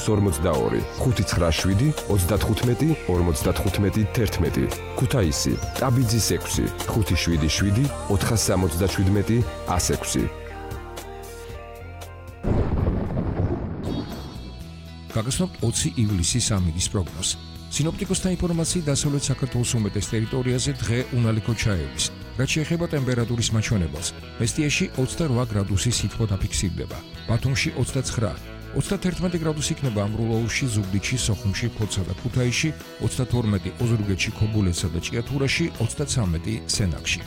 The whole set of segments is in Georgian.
542, 597, 35, 55, 11. ქუთაისი, ტაბიძის 6, 577, 477, 106. გაგაცნობთ 20 ივლისის ამინდის პროგნოზს. სინოპტიკოსთა ინფორმაციით დასავლეთ საქართველოს უმეტეს ტერიტორიაზე დღე უნალიქო ჩაევის. რაც შეეხება ტემპერატურის მაჩვენებელს, მესტიაში 28 გრადუსი სითბო დაფიქსირდება, ბათუმში 29, 31 გრადუსი იქნება ამბროლაურში, ზუგდიდში, სოხუმში, ფოთსა და ქუთაისში, 32 ოზურგეთში, ქობულეთსა და ჭიათურაში, 33 სენაკში.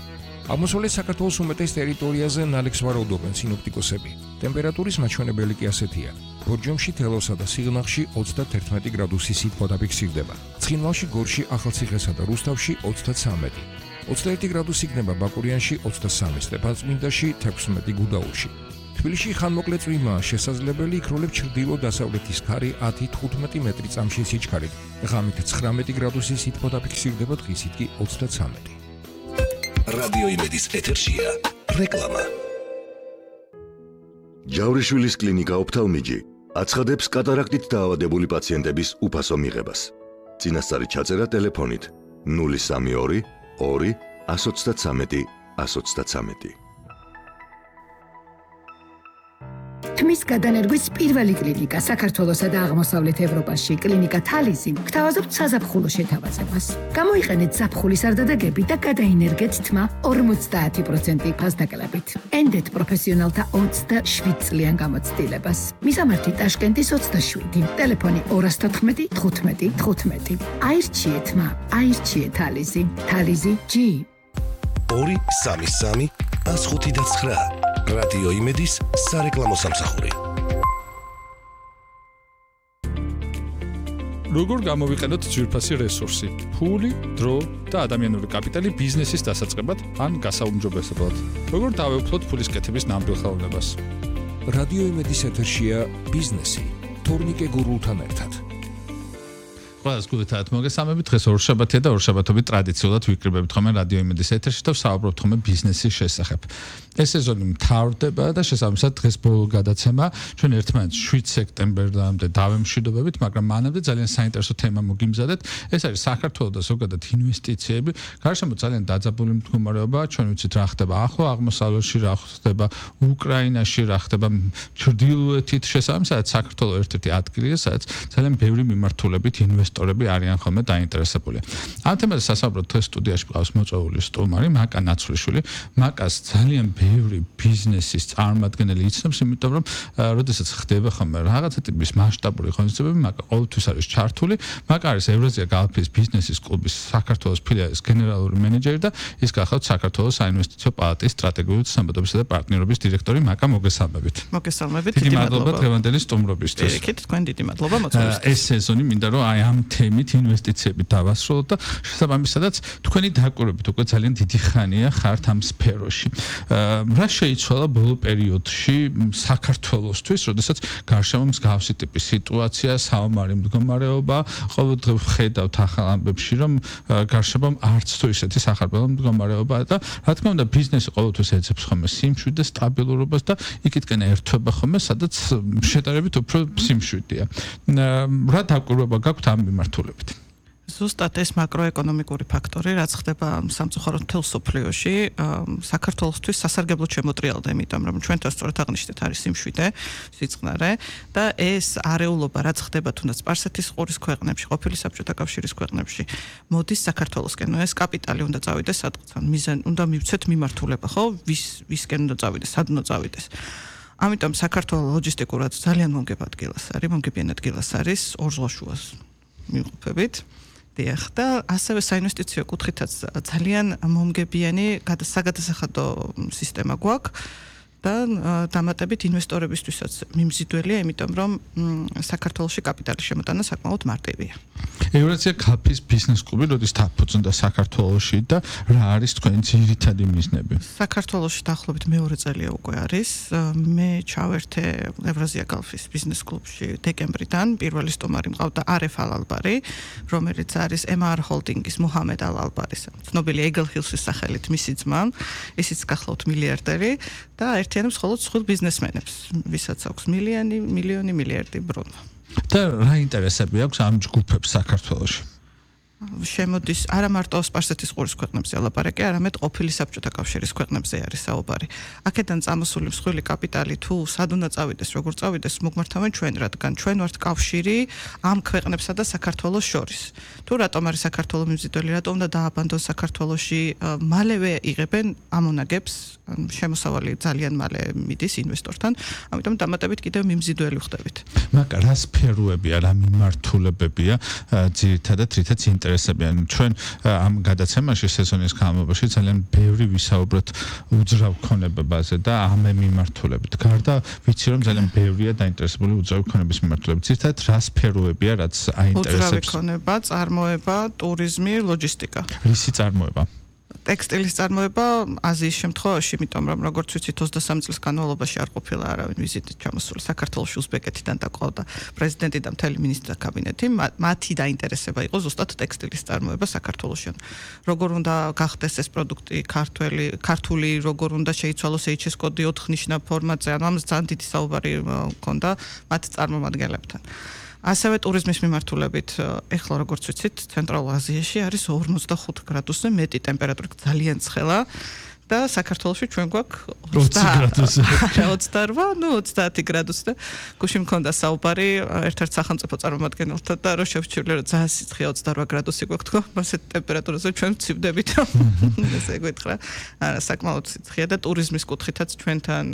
აღმოსავლეთ საქართველოს უმეტეს ტერიტორიაზე ნალექს ვარაუდობენ სინოპტიკოსები. ტემპერატურის მაჩვენებელი კი ასეთია. ბორჯომში, თელავსა და სიღნაღში 31 გრადუსი სითბო დაფიქსირდება. ცხინვალში, გორში, ახალციხესა და რუსთავში 33. 21 გრადუსი იქნება ბაკურიანში, 23 სტეფანწმინდაში, 16 გუდაურში. თბილისში ხანმოკლე წვიმაა შესაძლებელი, იქროლებს ჩრდილო-დასავლეთის ქარი 10-15 მეტრი წამში სიჩქარით. ღამით 19 გრადუსი სითბო დაფიქსირდება, დღისით კი 33. რადიო იმედის ეთერშია რეკლამა. ჯავრიშვილის კლინიკა ოფთალმიჯი აცხადებს კატარაქტით დაავადებული პაციენტების უფასო მიღებას. წინასწარი ჩაწერა ტელეფონით 032 2 133 133. თმის გადანერგვის პირველი კლინიკა საქართველოსა და აღმოსავლეთ ევროპაში, კლინიკა თალიზი, გთავაზობთ საზაფხულო შეთავაზებას. გამოიყენეთ ზაფხულის არდადეგები და გადაინერგეთ თმა 50% ფასდაკლებით. ენდეთ პროფესიონალთა 27 წლიან გამოცდილებას. მისამართი ტაშკენტის 27, ტელეფონი 214 15 15. აირჩიეთ თმა, აირჩიეთ თალიზი. თალიზი G 233 159. რადიო იმედის სარეკლამო სამსახური. როგორ გამოვიყენოთ ძვირფასი რესურსი, ფული, დრო და ადამიანური კაპიტალი ბიზნესის დასაწყებად ან გასაუმჯობესებლად? როგორ დავეუფლოთ ფულის კეთების ნამდვილ ხელოვნებას? რადიო იმედის ეთერშია ბიზნესი, თორნიკე გურულთან ერთად. ყველას გულით მოგესალმებით. დღეს ორშაბათია და ორშაბათობით ტრადიციულად ვიკრიბებით ხოლმე რადიო იმედის ეთერში და ვსაუბრობთ ხოლმე ბიზნესის შესახებ. ეს სეზონი მთავრდება და შესაბამისად დღეს ბოლო გადაცემა ჩვენ ერთმანეთს 7 სექტემბერამდე დავემშვიდობებით, მაგრამ მანამდე ძალიან საინტერესო თემა მოგიმზადეთ. ეს არის საქართველოს და ზოგადად ინვესტიციები. გარშემო ძალიან დაძაბული მდგომარეობაა. ჩვენ ვიცით რა ხდება ახლო აღმოსავლეთში, რა ხდება უკრაინაში, რა ხდება ჩრდილოეთით. შესაბამისად საქართველოს ერთ-ერთი ადგილია, სადაც ძალიან ბევრი მიმართულებით ინვესტორები არიან ხოლმე დაინტერესებული. ამ თემაზე სასაუბროდ დღეს სტუდიაში მყავს მოწვეული სტუმარი მაკა ნაცვლიშვილი. მაკას ძალიან ბევრი ბიზნესის წარმომადგენელი იცნობს, იმიტომ რომ როდესაც ხდება ხოლმე რაღაცა ტიპის მასშტაბური ღონისძიებები, მაკა ყოველთვის არის ჩართული. მაკა არის ევრაზია გალფის ბიზნესის კლუბის საქართველოს ფილიალის გენერალური მენეჯერი და ის გახლავთ საქართველოს საინვესტიციო პალატის სტრატეგიული ცნობადობისა და პარტნიორობის დირექტორი. მაკა, მოგესალმებით. მოგესალმებით. დიდი მადლობა დღევანდელი სტუმრობისთვის. პირიქით, თქვენ დიდი მადლობა მოწვევისთვის. ეს სეზონი მინდა რომ აი ამ თემით ინვესტიციები დავასრულოთ და შესაბამისადაც თქვენი დაკვირვებით უკვე ძალიან დიდი ხანია ხართ ამ სფეროში. რა შეიცვალა ბოლო პერიოდში საქართველოსთვის, როდესაც გარშემო მსგავსი ტიპის სიტუაცია, საომარი მდგომარეობა, ყოველდღე ვხედავთ ახალ ამბებში, რომ გარშემო არც თუ ისეთი სახარბელო მდგომარეობა და რა თქმა უნდა ბიზნესი ყოველთვის ეძებს ხოლმე სიმშვიდეს, სტაბილურობას და იქითკენ ერთვება ხოლმე, სადაც შედარებით უფრო სიმშვიდეა. რა დაკვირვება გაქვთ ამ მიმართულებით? ზუსტად ეს მაკროეკონომიკური ფაქტორი, რაც ხდება სამწუხაროდ მთელ სოფლიოში, საქართველოსთვის სასარგებლო შემოტრიალდა, იმიტომ რომ ჩვენთან სწორად აღნიშნეთ არის სიმშვიდე, სიწყნარე და ეს არეულობა, რაც ხდება თუნდაც სპარსეთის ყურის ქვეყნებში, ყოფილი საბჭოთა კავშირის ქვეყნებში, მოდის საქართველოსკენ. ეს კაპიტალი უნდა წავიდეს სადღაც, უნდა მივცეთ მიმართულება, ხო? ვისკენ უნდა წავიდეს, სად უნდა წავიდეს. ამიტომ საქართველოს ლოჯისტიკურად ძალიან მომგებიან ადგილას არის ორზღვაშუას მიყოფებით. დიახ, და ასევე საინვესტიციო კუთხითაც ძალიან მომგებიანი საგადასახადო სისტემა გვაქვს და დამატებით ინვესტორებისთვისაც მიმზიდველია, იმიტომ რომ საქართველოში კაპიტალის შემოტანა საკმაოდ მარტივია. ევრაზია გალფის ბიზნეს კლუბი როდის დაფუძნდა საქართველოში და რა არის თქვენი ძირითადი მიზნები? საქართველოში დაახლოებით მეორე წელია უკვე არის. მე ჩავერთე ევრაზია გალფის ბიზნეს კლუბში დეკემბრიდან. პირველი სტუმარი მყავდა არეფ ალ-ალბარი, რომელიც არის MR ჰოლდინგის მუჰამედ ალ-ალბარის ცნობილი ეგელ ჰილსის სახელით მისი ძმა, ისიც გახლავთ მილიარდერი და ერთიანობს მხოლოდ სხვილ ბიზნესმენებს, ვისაც აქვს მილიონი, მილიარდი ბრუნვა. და რა ინტერესები აქვს ამ ჯგუფებს საქართველოში? შემოდის არა მარტო სპარსეთის ყურის ქვეყნებზე ლაპარაკი, არამედ ყოფილი საბჭოთა კავშირის ქვეყნებზე არის საუბარი. აქედან წამოსული მსხვილი კაპიტალი თუ სად უნდა წავიდეს, როგორ წავიდეს, მოგმართავენ ჩვენ, რადგან ჩვენ ვართ კავშირი ამ ქვეყნებსა და საქართველოს შორის. თუ რატომ არის საქართველოს მიმზიდველი, რატომ უნდა დააბანდონ საქართველოში, მალევე იღებენ ამონაგებს, შემოსავალი ძალიან მალე მიდის ინვესტორთან, ამიტომ დამატებით კიდევ მიმზიდველი ხდებით. მაგრამ რა სფეროებია, რა მიმართულებებია ძირითადად რითაც ინტერესებიან ჩვენ ამ გადაცემაში სეზონის განმავლობაში ძალიან ბევრი ვისაუბროთ უძრავ ქონებაზე და ამ მიმართულებით. გარდა ვიცი რომ ძალიან ბევრია დაინტერესებული უძრავ ქონების მიმართულებით. ძირითადად რა სფეროებია, რაც აინტერესებს? უძრავი ქონება, წარმოება, ტურიზმი, ლოჯისტიკა. რისი წარმოება? ტექსტილის წარმოება აზიის შემთხვევაში, იმიტომ რომ როგორც ვიცით 23 წლის განმავლობაში არ ყოფილა არავინ ვიზიტით ჩამოსული საქართველოში, უზბეკეთიდან დაყავდა პრეზიდენტი და მთელი მინისტრთა კაბინეტი, მათი დაინტერესება იყო ზუსტად ტექსტილის წარმოება საქართველოში. როგორ უნდა გახდეს ეს პროდუქტი ქართული, როგორ უნდა შეიცვალოს HS კოდი 4 ნიშნა ფორმატზე, ანუ ამას ძალიან დიდი საუბარი ჰქონდა მათ წარმომადგენლებთან. ასევე ტურიზმის მიმართულებით, ეხლა როგორც ვიცით, ცენტრალურ აზიაში არის 45 გრადუსზე მეტი ტემპერატურით ძალიან ცხელა და საქართველოში ჩვენ გვაქვს 20 გრადუსზე. 28, ну 30 გრადუსი და გუშინ მქონდა საუბარი ერთ-ერთ სახელმწიფო წარმომადგენელთან და რო შევჩივლე რომ ძალიან სიცხეა 28 გრადუსი გვაქვს თქო, ასეთ ტემპერატურაზე ჩვენ ვცივდებით. ესე გითხრა, საკმაოდ სიცხეა და ტურიზმის კუთხითაც ჩვენთან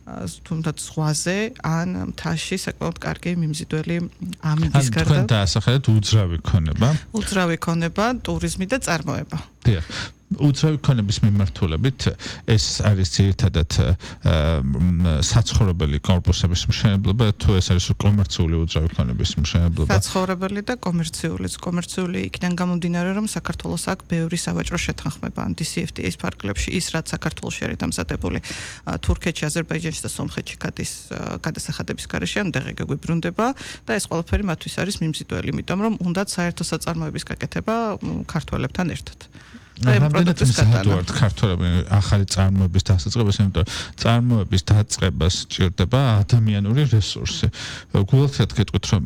თუნდაც ზღვაზე ან მთაში საკმაოდ კარგი მიმზიდველი ამიდის გარდა. თქვენ დაასახელეთ უძრავი ქონება. უძრავი ქონება, ტურიზმი და წარმოება. დიახ. უძრავი ქონების მიმართულებით ეს არის ძირითადად საცხოვრებელი კორპუსების მშენებლობა, თუ ეს არის კომერციული უძრავი ქონების მშენებლობა? საცხოვრებელი და კომერციული იქიდან გამომდინარე, რომ საქართველოს აქვს ბევრი სავაჭრო შეთანხმება ან DCFTA-ის ფარგლებში, ის რაც საქართველოში არის დამზადებული თურქეთში, აზერბაიჯანში და სომხეთში გადის გადასახადების გარეშე, ან დღე გვიბრუნდება და ეს ყველაფერი მათთვის არის მიმზიდველი, იმიტომ რომ უნდათ საერთო საწარმოების გაკეთება ქართველებთან ერთად. რამდენად მზადვართ ქართველები ახალი წარმოების დასაწყებას, იმიტომ რომ წარმოების დაწყებას სჭირდება ადამიანური რესურსი. გულახდეთ გეტყვით რომ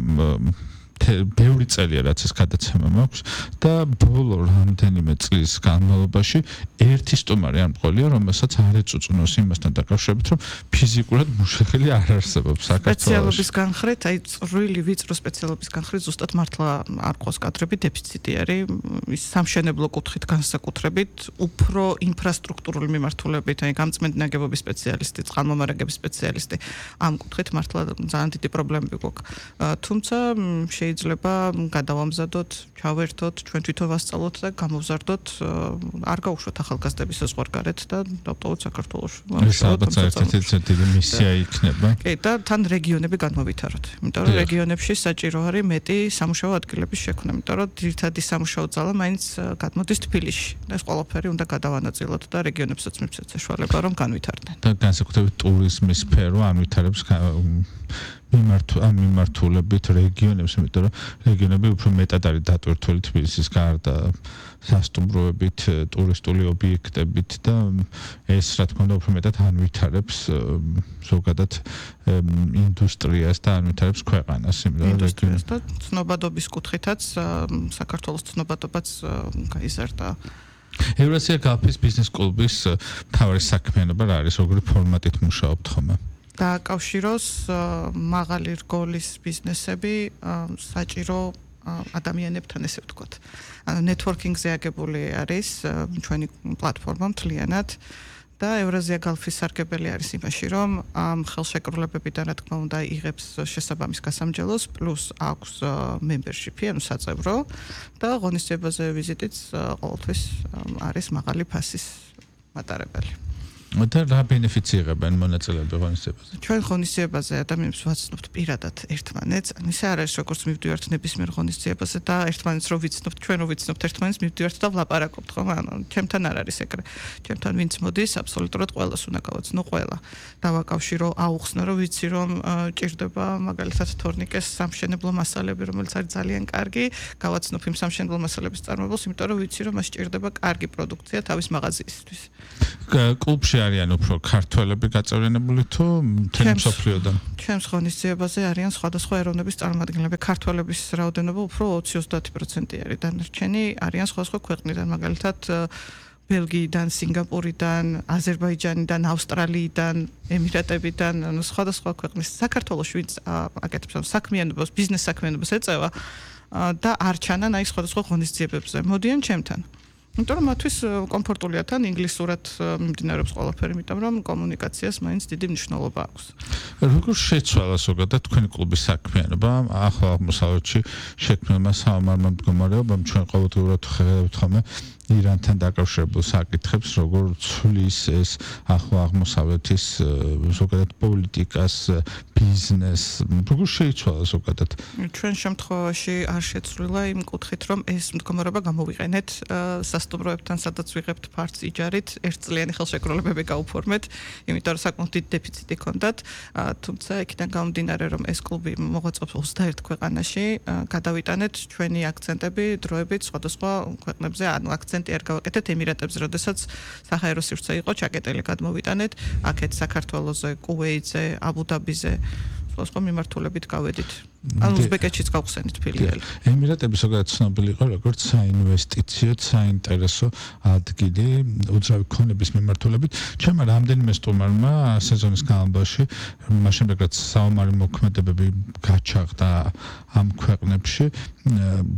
ბევრი წელია რაც ეს გადაცემა მაქვს და ბოლო რამდენიმე წლის განმავლობაში ერთი სტუმარი არ მყოლია, რომელსაც არ ეწუწუნოს იმასთან დაკავშირებით, რომ ფიზიკურად მუშახელი არ არსებობს საქართველოში. სპეციალობის განხრით, აი წვრილი ვიწრო სპეციალობის განხრით ზუსტად მართლა არ ყავს კადრები, დეფიციტი არის, ის სამშენებლო კუთხით განსაკუთრებით, უფრო ინფრასტრუქტურული მიმართულებით, აი გამწმენდი ნაგებობის სპეციალისტი, წყალმომარაგების სპეციალისტი, ამ კუთხით მართლა ძალიან დიდი პრობლემები გვაქვს. თუმცა შეიძლება გადავამზადოთ, ჩავერთოთ, ჩვენ თვითონ ვასწავლოთ და გამოვზარდოთ, არ გაუშვათ ახალგაზრდების საზღვარგარეთ და დავტოვოთ საქართველოში. ეს ალბათ ერთ-ერთი მისია იქნება. კი, და თან რეგიონები განმოვითაროთ. იმიტომ რომ რეგიონებში საჭირო არის მეტი სამუშაო ადგილების შექმნა, იმიტომ რომ ძირითადი სამუშაო ძალა მაინც გადმოდის თბილისში. და ეს ყველაფერი უნდა გადავანაწილოთ და რეგიონებსაც მივცეთ საშუალება, რომ განვითარდნენ. და განსაკუთრებით ტურიზმის სფერო ანვითარებს მიმართულებით რეგიონებს, იმიტომ რომ რეგიონები უფრო მეტად არის დატვირთული თბილისის გარდა სასტუმროებით, ტურისტული ობიექტებით და ეს რა თქმა უნდა უფრო მეტად ანვითარებს ზოგადად ინდუსტრიას და ანვითარებს ქვეყანას, იმიტომ რომ და ცნობადობის კუთხითაც საქართველოს ცნობადობაც გაიზარდა. ევრაზია გალფის ბიზნეს კლუბის მთავარი საქმიანობა რა არის, როგორი ფორმატით მუშაობთ ხოლმე? დააკავშიროს მაღალი რგოლის ბიზნესები საჭირო ადამიანებთან, ესე ვთქვათ. ანუ ნეტვორკინგზე აგებული არის ჩვენი პლატფორმა მთლიანად და ევრაზია გალფის სარგებელი არის იმაში, რომ ამ ხელშეკრულებებიდან რა თქმა უნდა იღებს შესაბამის გასამჯელოს, პლუს აქვს membership-ი, ანუ საწევრო და ღონისძიებაზე ვიზიტიც ყოველთვის არის მაღალი ფასის მატარებელი. და რა ბენეფიცი იღებენ მონაწილეები ღონისძიებაზე? ჩვენ ღონისძიებაზე ადამიანებს ვაცნობთ პირადად ერთმანეთს. ანუ ისე არ არის როგორც მივდივართ ნებისმიერ ღონისძიებაზე და ერთმანეთს რო ვიცნობთ, ჩვენ რო ვიცნობთ ერთმანეთს მივდივართ და ვლაპარაკობთ, ხო? ანუ ჩემთან არ არის ეგრე. ჩემთან ვინც მოდის, აბსოლუტურად ყველას უნდა გავაცნო ყველა. დავაკავშირო, აუხსნო, რომ ვიცი რომ ჭირდება მაგალითად თორნიკეს სამშენებლო მასალები, რომელიც არის ძალიან კარგი, გავაცნობ იმ სამშენებლო მასალების წარმოებულს, იმიტომ რომ ვიცი რომ მას ჭირდება კარგი პროდუქცია თავის მაღაზიისთვის. კლუბში არიან უფრო ქართველები გაწევრიანებული თუ მთელი მსოფლიოდან? ჩემს ღონისძიებაზე არიან სხვადასხვა ეროვნების წარმომადგენლები. ქართველების რაოდენობა უფრო 20-30% არის. დანარჩენი არიან სხვადასხვა ქვეყნიდან, მაგალითად ბელგიიდან, სინგაპურიდან, აზერბაიჯანიდან, ავსტრალიიდან, ემირატებიდან, ანუ სხვადასხვა ქვეყნის საქართველოს ვინც აკეთებს საქმიანობას, ბიზნეს საქმიანობას ეწევა და არ ჩანან აი სხვადასხვა ღონისძიებებზე. მოდიან ჩემთან. იმიტომ რომ მათთვის კომფორტულია თან ინგლისურად მიმდინარეობს ყველაფერი, იმიტომ რომ კომუნიკაციას მაინც დიდი მნიშვნელობა აქვს. როგორ შეცვალა ზოგადად თქვენი კლუბის საქმიანობა ახლა აღმოსავლეთში შექმნილმა საომარმა მდგომარეობამ? ჩვენ ყოველდღიურად ხედავთ ხოლმე ირანთან დაკავშირებულ საკითხებს, როგორ ცვლის ეს ახლა აღმოსავლეთის ზოგადად პოლიტიკას, ბიზნესს, როგორ შეიცვალა ზოგადად? ჩვენ შემთხვევაში არ შეცვლილა იმ კუთხით, რომ ეს მდგომარეობა გამოვიყენეთ სასტუმროებთან, სადაც ვიღებთ ფართს იჯარით, ერთწლიანი ხელშეკრულებები გაუფორმეთ, იმიტომ რომ საკმაოდ დიდი დეფიციტი ჰქონდათ, თუმცა იქიდან გამომდინარე, რომ ეს კლუბი მოღვაწეობს 21 ქვეყანაში, გადავიტანეთ ჩვენი აქცენტები, დროებით სხვადასხვა ქვეყნებზე, ანუ აქცენტი არ გავაკეთეთ ემირატებზე, როდესაც საჰაერო სივრცე იყო ჩაკეტილი, გადმოვიტანეთ აქეთ საქართველოზე, კუვეიტზე, აბუ-დაბიზე, სხვადასხვა მიმართულებით გავედით. ანუ უზბეკეთშიც გავხსენით ფილიალი. ემირატები ზოგადად ცნობილი იყო როგორც საინვესტიციო, საინტერესო ადგილი უძრავი ქონების მიმართულებით. ჩემმა რამდენიმე სტუმარმა სეზონის განმავლობაში, მას შემდეგ რაც საომარი მოქმედებები გაჩაღდა ამ ქვეყნებში,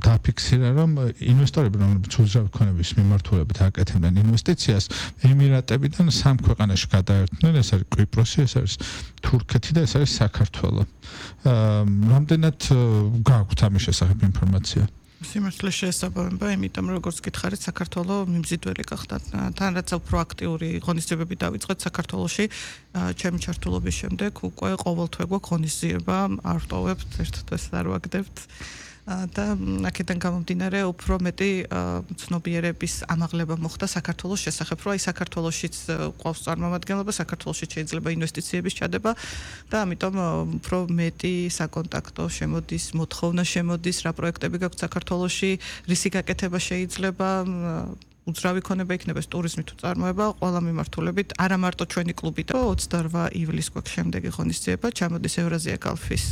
დაფიქსირა, რომ ინვესტორები, რომლებიც უძრავი ქონების მიმართულებით აკეთებდნენ ინვესტიციას, ემირატებიდან 3 ქვეყანაში გადაერთნენ, ეს არის კვიპროსი, ეს არის თურქეთი და ეს არის საქართველო. რამდენად გააქვთ ამის შესახებ ინფორმაცია? სიმართლე შეესაბამება, იმიტომ რომ როგორც გითხარით, საქართველოს მიმზიდველი გახდა. თან რაც უფრო აქტიური ღონისძიებები დავიწყეთ საქართველოში, ჩემი ჩართულობის შემდეგ უკვე ყოველთვე გვაქვს ღონისძიება, არ ვტოვებთ, ერთ დღეს არ ვაგდებთ. და აქედან გამომდინარე უფრო მეტი ცნობიერების ამაღლება მოხდა საქართველოს შესახებ, რომ აი საქართველოშიც ყავს წარმომადგენლობა, საქართველოშიც შეიძლება ინვესტიციების ჩადება და ამიტომ უფრო მეტი საკონტაქტო შემოდის, მოთხოვნა შემოდის, რა პროექტები გაქვთ საქართველოში, რისი გაკეთება შეიძლება, უძრავი ქონება იქნება ტურიზმი თუ წარმოება, ყველა მიმართულებით, არა მარტო ჩვენი კლუბი და 28 ივლისს გვაქვს შემდეგი ღონისძიება, ჩამოდის ევრაზია კალფის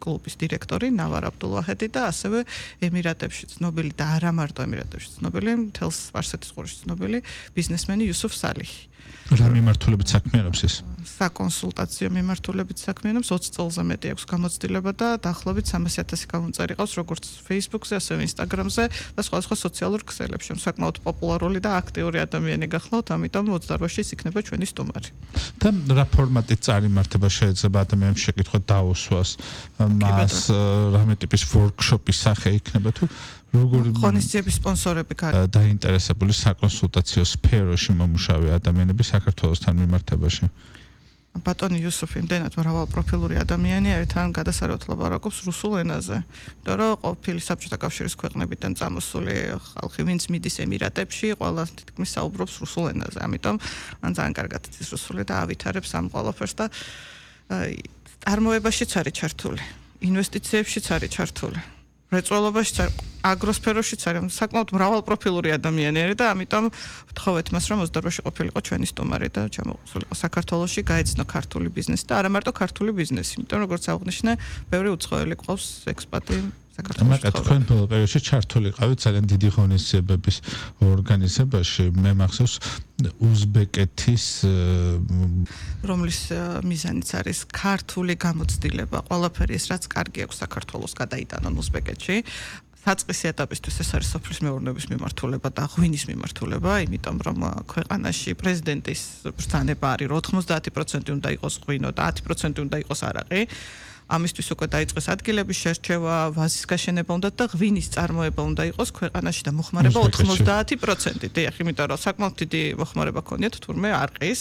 კლუბის დირექტორი ნავარ აბდულვაჰედი და ასევე ემირატებში ცნობილი და არა მარტო ემირატებში ცნობილი, მთელს სპარსეთის ყურეში ცნობილი ბიზნესმენი იუსუფ სალიჰი. რა მიმართულებით საქმიანობს ეს? საკონსულტაციო მიმართულებით საქმიანობს, 20 წელზე მეტი აქვს გამოცდილება და დაახლოებით 300,000 გამომწერი ყავს როგორც Facebook-ზე, ასევე Instagram-ზე და სხვადასხვა სოციალურ ქსელებში. საკმაოდ პოპულარული და აქტიური ადამიანი გახლავთ, ამიტომ 28-ში იქნება ჩვენი სტუმარი. და რა ფორმატით წარიმართება შეიძლება ადამიანს შეკითხვა დაუსვას, მას რამე ტიპის ვორქშოპის სახე იქნება თუ როგორ ღონისძიების სპონსორები დაინტერესებული საკონსულტაციო სფეროში მომუშავე ადამიანები საქართველოსთან მიმართებაში? ბატონი იუსუფი იმდენად მრავალპროფილური ადამიანია, ერთთან გადასარევად ლაპარაკობს რუსულ ენაზე. იმიტომ რომ ყოფილი საბჭოთა კავშირის ქვეყნებიდან წამოსული ხალხი, ვინც მიდის ემირატებში, ყველა თითქმის საუბრობს რუსულ ენაზე. ამიტომ მან ძალიან კარგად იცის რუსული და ავითარებს ამ ყველაფერს და წარმოებაშიც არის ჩართული, ინვესტიციებშიც არის ჩართული. რეწველობაშიც არის, აგროსფეროშიც არის, საკმაოდ მრავალპროფილური ადამიანი არის და ამიტომ ვთხოვეთ მას, რომ 28-ში ყოფილიყო ჩვენი სტუმარი და ჩამოყოლიყო საქართველოში, გაეცნო ქართული ბიზნესი და არა მარტო ქართული ბიზნესი, იმიტომ რომ როგორც აღნიშნე, ბევრი უცხოელი ყავს ექსპატი საქართველოში. მაგათ თქვენ ბოლო პერიოდში ჩართული ყავით ძალიან დიდი ღონისძიებების ორგანიზებაში, მე მახსოვს უზბეკეთის რომლის მიზანიც არის ქართული გამოცდილება, ყველაფერი ეს რაც კარგი აქვს საქართველოს გადაიტანონ უზბეკეთში. საწყისი ეტაპისთვის ეს არის სოფლის მეურნეობის მიმართულება და ღვინის მიმართულება, იმიტომ რომ ქვეყანაში პრეზიდენტის ბრძანება არის, რომ 90% უნდა იყოს ღვინო და 10% უნდა იყოს არაყი. ამისთვის უკვე დაიწყეს ადგილების შერჩევა, ვაზის გაშენება უნდა და ღვინის წარმოება უნდა იყოს ქვეყანაში და მოხმარება 90%. დიახ, იმიტომ რომ საკმაოდ დიდი მოხმარება ქონიათ თურმე არყის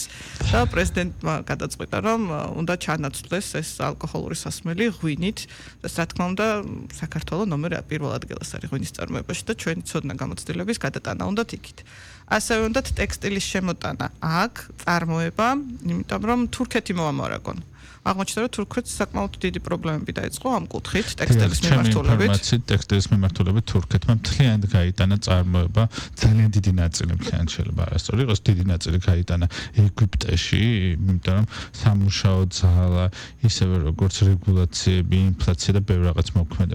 და პრეზიდენტმა გადაწყვიტა, რომ უნდა ჩანაცვლეს ეს ალკოჰოლური სასმელი ღვინით და რა თქმა უნდა საქართველოს ნომერ 1 ადგილას არის ღვინის წარმოებაში და ჩვენი ცოდნა გამოცდილების გადატანა უნდათ იქით. ასევე უნდათ ტექსტილის შემოტანა აქ წარმოება, იმიტომ რომ თურქეთი მოამარაგონ. აღმოჩნდა რომ თურქეთს საკმაოდ დიდი პრობლემები დაიწყო ამ კუთხით ტექსტილის მიმართულებით. ტექსტილის მიმართულებით თურქეთმა მთლიანად გაიტანა წარმოება, ძალიან დიდი ნაწილი მთლიანად შეიძლება არასწორი იყოს, დიდი ნაწილი გაიტანა ეგვიპტეში, იმიტომ რომ სამუშაო ძალა, ისევე როგორც რეგულაციები, ინფლაცია და ბევრ რაღაც მოქმედებს.